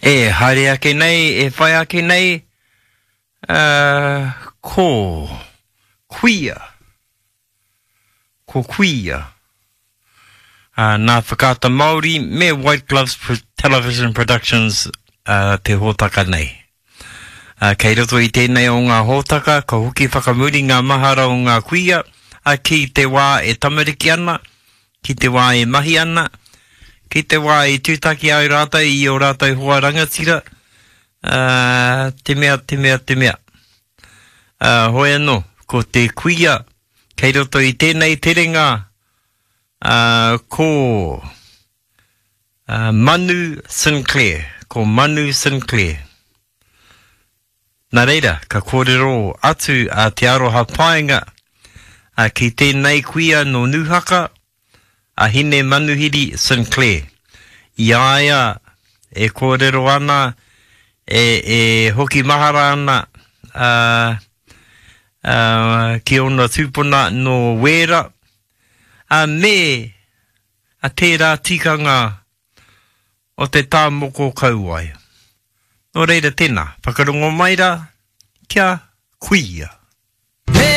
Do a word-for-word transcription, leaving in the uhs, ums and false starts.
E haere ake nei, e whai ake nei, uh, ko Kuia. Ko Kuia. Uh, nā Whakaata Māori me White Gloves Television Productions uh, te hōtaka nei. Uh, kei roto i tēnei o ngā hōtaka, ka hoki whakamuri ngā mahara o ngā kuia, uh, ki te wā e tamariki ana, ki te wā e mahi ana, ki te wā i tūtaki ai rātou i o rātou hoa rangatira, uh, te mea, te mea, te mea. Uh, hoi anō, ko te kuia, kei roto i tēnei terenga, uh, ko uh, Manu Sinclair, ko Manu Sinclair. Nā reira, ka kōrero atu a Te Aroha Paenga a ki tēnei kuia no Nūhaka, a Hine Manuhiri Sinclair. I a ia e kōrero ana, e, e hoki mahara ana uh, uh, ki ona tūpuna no Wēra, a me a tērā tikanga o te tā moko kauae. Nō reira tēnā, whakarongo mai rā, kia kuia.